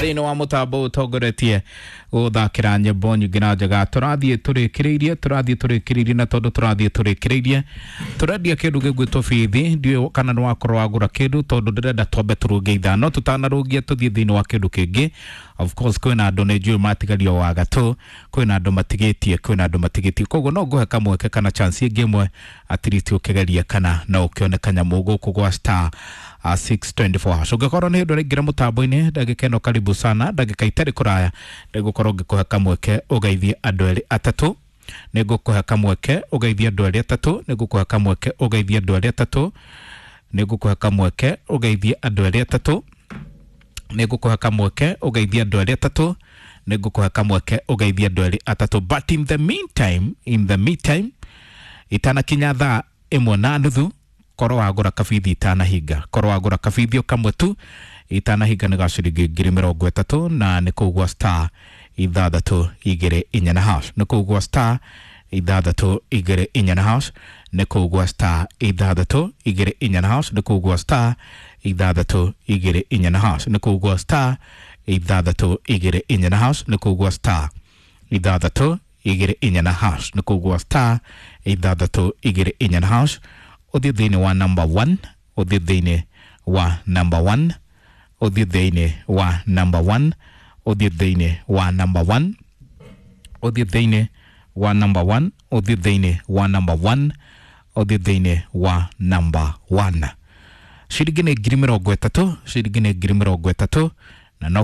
Thĩinĩ wa mũtambo ũtongoretie gũthakĩra nyĩmbo nyingĩ na njega. Tũrathiĩ tũrĩkĩrĩirie, tũrathiĩ tũrĩkĩrĩirie, na tondũ tũrathiĩ tũrĩkĩrĩirie, tũrendia kĩndũ gĩgwĩtwo bithi. Ndiũĩ kana nĩ wakorwo wagũra kĩndũ, tondũ ndĩrenda twambe tũrũnge 5 tũtanarũngia tũthiĩ thĩinĩ wa kĩndũ kĩngĩ. Of course kwĩna andũ nĩ njũĩ matigario wa gatũ, kwĩna andũ matigĩtie, kwĩna andũ matigĩtie, koguo no ngũhe kamweke kana chance ĩngĩ ĩmwe, at least ũkĩgerie kana no ũkĩone kanyamũ gũkũ gwa star 624 hash. Ũngĩkorwo nĩ hĩndĩ ũraingĩra mũtambo-inĩ, ndagĩka ĩno karibu sana, ndagĩka itarĩ kũraya, nĩngũkorwo ngĩkũhe kamweke ũgeithie andũ erĩ atatũ. Nĩngũkũhe kamweke ũgeithie andũ erĩ atatũ. Nĩngũkũhe kamweke ũgeithie andũ erĩ atatũ. Nĩngũkũhe kamweke ũgeithie andũ erĩ atatũ. Nĩngũkũhe kamweke ũgeithie andũ erĩ atatũ. Nĩngũkũhe kamweke ũgeithie andũ erĩ atatũ. But in the meantime, in the meantime, itanakinya 1:30, korwo wagũra kabithi itanahinga, korwo wagũra kabithi o kamwe tu itanahinga, nĩ ga ciringi 30,000, na nĩ kũu gwa star 624 na hash. Nĩ kũu gwa star 624 na hash. Nĩ kũu gwa star 624 na hash. Nĩ kũu gwa star 624 na hash. Nĩ kũu gwa star 624 na hash. Nĩ kũu gwa star 624 na hash. Nĩ kũu gwa star 624 na hash. Ũthiĩ thĩinĩ wa number 1, ũthiĩ thĩinĩ wa number 1, ũthiĩ thĩinĩ wa number 1, ũthiĩ thĩinĩ wa number 1, ũthiĩ thĩinĩ wa number 1, ũthiĩ thĩinĩ wa number 1, ũthiĩ thĩinĩ wa number 1. Ciringi nĩ 30,000, ciringi nĩ 30,000.